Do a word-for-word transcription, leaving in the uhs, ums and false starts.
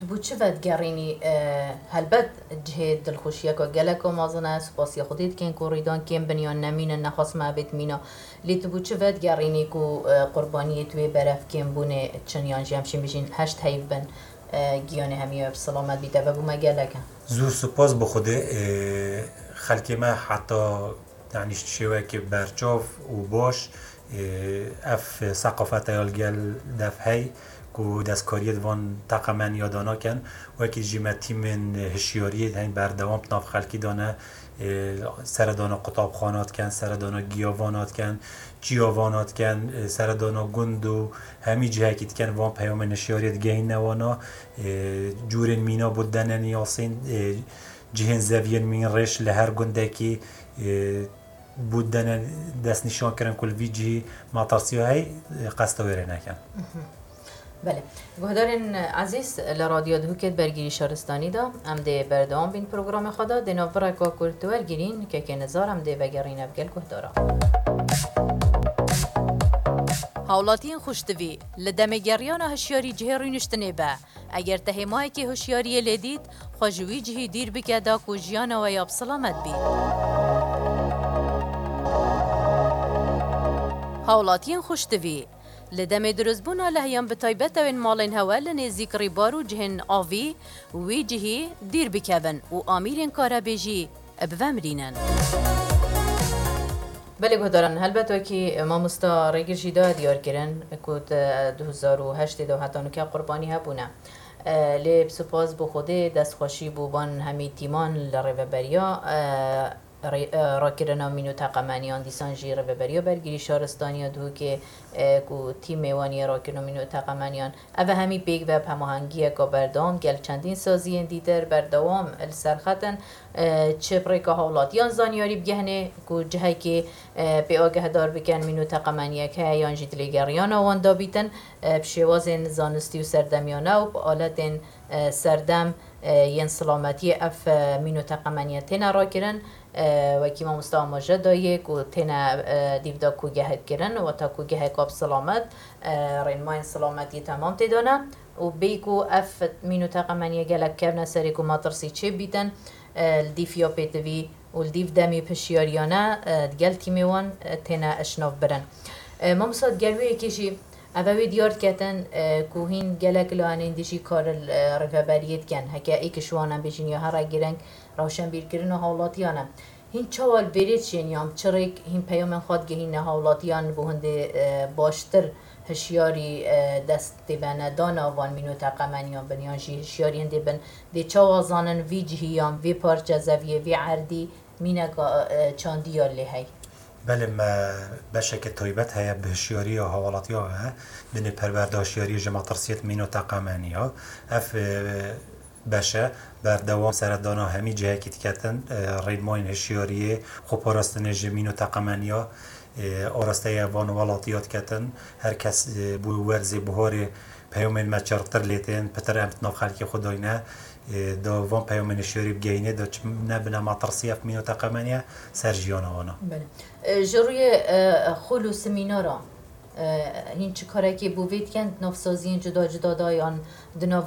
Bo çi vedigerînî, e, helbet cihê dilxweşiyeke geleka mezin e, spasiya Xwedê dikin ku rîdan kêm bin yan nemînin, nexwest me bêt mîna. Lê tu bo çi vedigerînî ku, e, qurbaniyê tu wê berev kêmbûnê çin yan jî em şîn bijîn heşt heyv bin, e, giyanê hemiya bi selamet bîte? Vebû me gelek e. Zûr spas bi Xwedê, e, xelkê me heta, yanî şêwekê berçav û baş, e, ev seqafete ya li gel dev hey ku destkariyê di van teqemeniya danakin. Wekî jî me tîmên hişyariyê hên berdewam di nav xelkî de ne, e, seredana qutabxana dikin, seredana giyavana dikin, çiyavana dikin, e, seredana gund û hemî cihekî dikin, van peyamên hişyariyê digehîne wana, e, cûrên mîna bo denin yasîn, e, cihên zeviyên mîn rêş li her gundekî, e, bo denin destnîşan kirin ku li vî cihî matirsiya hey, e, qesta wê rê nekin. Belê. Guhdarên ezîz, li Radyo Duhokê di bergirî şaristanî de em dê berdewam bîn programê xwe de. Dê nav bireka kurtwergirîn, kekê nizar em dê vegerîne bi gel guhdara. Hawlatiyên xweştivî, li demê geriyana hişyarî cihê rûniştinê be. Eger te hêmayekê hişyariyê lê dît, xwe ji wî cihî dîr bike da ku jiyana we ya bi selamet bî. Hawlatiyên xweştivî, li demê dirustbûna lehiyan bi taybet ew ên malên hewe li nêzîk rîbar û cihên avî wî cihî dîr bikevin û amîrên karebê jî bivemrînin. Belê guhdaran, helbet wekî mamosta Rêgir jî daye diyar kirin ku di du hezar û heştê de û heta nûke qurbanî hebûne. E, lê bi spas bo Xwedê destxweşî bo van hemî tîman li rêveberiya, e, rê-, e, rakirina mîn û teqemeniyan, dîsan jî rêveberiya bergirî şaristaniya Duhokê, e, ku tîmê wan yê rakirina mîn û teqemeniyan. Ev hemî pêk ve bi hemahengiyeke berdewam gel çendîn saziyên dîtir berdewam li ser xet in. E, çi bi rêka hawlatiyan zanyarî bigihne ku cihekê, e, pê agehdar bikin mîn û teqemeniyek heye yan jî dilêgeriyana wan dabîtin, e, bi şêwazên zanistî û serdemiyane û bi aletên, e, serdem, e, yên silametiyê ev, e, mîn û teqemeniye têne rakirin. E, wekî mamosta amaje daye ku têne, e, dîv de kûgehek kirin, wata kûgeheka bi silamet, e, rênmayên silametiyê temam tê de ne û bêyî ku ev mîn û teqemeniye gelek kevne serê ku metirsî çê bîtin, e, li dîv ya pêtivî û li dîv demî hişyariyane, e, digel tîmê wan, e, têne eşnavbirin. E, mamosta, digel wê yekê jî ev ê wê diyar diketin, e, ku hîn gelek layanên dî jî kar li, e, rêveberiyê dikin. Heke êk ji wan em bêjin ya here girîng rewşenbîrkirina hawlatiyan e. Hîn çawa li vêrê diçên yan bi çi rêk hîn peyamên xwe digihîne hawlatiyan bo hindê, e, baştir hişyarî, e, dest tê venedana van mîn û teqemeniyan bin yan jî hişyarî hindê bin dê çawa zanin vî cihî yan vê parçe zeviyê vê erdî mîneka, e, çandî ya lê hey? Belê me beşeke taybet heye bi hişyariya hawlatiya ve binê perwerda hişyariyê ji metirsiyê mîn û teqemeniya. Ev, e, beşe berdewam seredana hemî cihekî diketin, e, rênmayên hişyariyê, xweparastinê ji mîn û teqemeniya, e, arasteya van welatiya diketin. Her kes, e, bo werzê buharê peyamên me çirtir lê tên, pitir em di nav xelkê xwe dayne, e, da van peyamên hişyarî bigehîne, da çi nebine metirsî ev mîn û teqemeniye ser jiyana wana. Belê. E, ji rûyê, e, xul û semînara, e, hîn çi karekê bo vê dikin di nav saziyên cuda cuda de yan di nava